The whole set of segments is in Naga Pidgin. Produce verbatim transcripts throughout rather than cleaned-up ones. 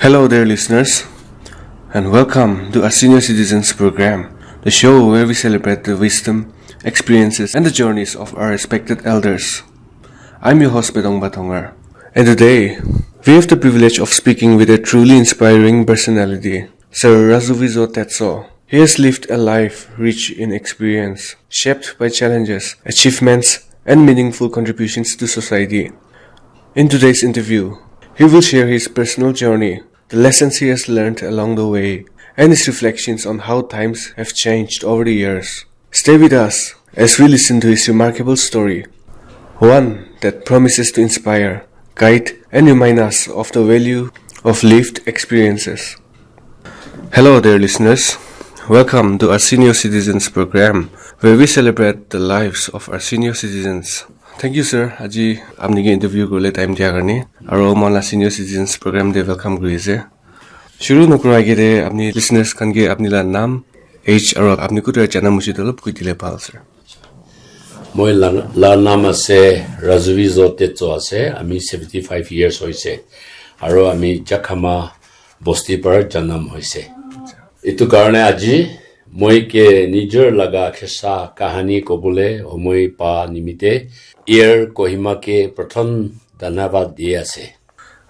Hello, dear listeners, and welcome to our Senior Citizens Program, the show where we celebrate the wisdom, experiences, and the journeys of our respected elders. I'm your host, Pedong Batongar, and today we have the privilege of speaking with a truly inspiring personality, Sir Razuvizo Tetso. He has lived a life rich in experience, shaped by challenges, achievements, and meaningful contributions to society. In today's interview, he will share his personal journey, the lessons he has learned along the way, and his reflections on how times have changed over the years. Stay with us as we listen to his remarkable story, one that promises to inspire, guide, and remind us of the value of lived experiences. Hello, dear listeners. Welcome to our Senior Citizens Program, where we celebrate the lives of our senior citizens. Thank you, sir. Aji apni ke interview kurle time dia karne. Aro moi la Senior Citizens Program te welcome kuri ase. Shuru nokura age te apni listeners khan ke apni la naam, age aro apni kutu jana mushi dolop koi dile bhal, sir. Moi la, la naam ase Razuvizo Tetso ase. Ami seventy five years hoise. Aro ami Jakhama bosti para janam hoise. Itu karne aji moi ke nijor laga kisa kahani kobole homoi pa nimite Air Kohima ke pratham dhanyavad di ase.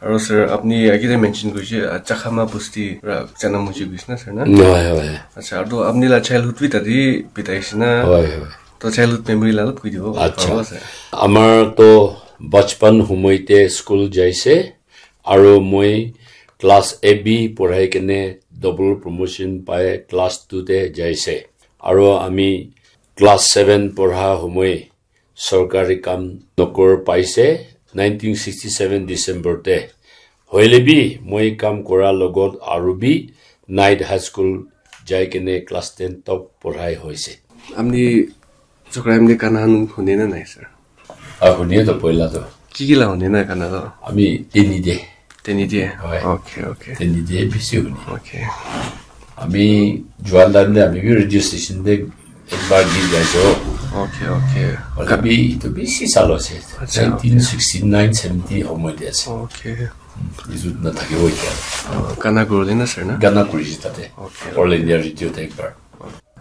Aro sir, apni age te mention kurise, ah, Jakhama bosti ra janam hoise kuise na, sir, na? Hoi, hoi. Acha, aro apni la childhood bi tate bitaise na? Hoi, hoi. To childhood memory la olop koi dibo, acha, paribo, sir? Amar to bachpan humoi te school jaise, aro moi class A B porhai kene double promotion pai class two te jaise. Aro ami class seven porha humoi sorkari kam nokor paise nineteen sixty seven December te. Hoile bi moi kam kora logot aru bi Night High School jai kene class ten top porhai hoise. Apni chokra amni gana khan hune na nai, sir? Ah, hune to poila to. Ki ki la hune na gana to? Ami teni de. Teni de? Hoi. Okay, okay. Teni de bisi hune. Okay. Ami juan time te ami bi radio station te ekbar git gaise. Okay, okay. Hoile bi itu bisi sal hoise. Acha, nineteen sixty nine seventy homoi te ase. Okay. Hmm, itu na thakibo etia. Oh, gana kurule na, sir, na? Gana kurise tate. Okay. All India Radio te ekbar.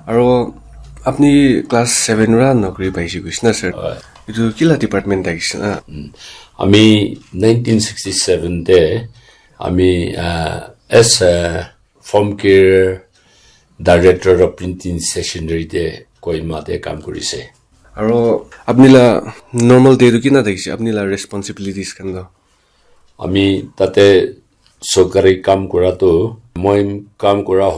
Aro apni class seven ra nokri paise kuise na, sir? Hoi. Itu kila department thakise na? Hmm. Ami nineteen sixty seven te ami, ah, as a form care director of printing stationery te Kohima te kam kurise. Aro apni la normal day tu kina thakise, apni la responsibilities khan to? Ami tate sorkari kam kora tu, moi kam kora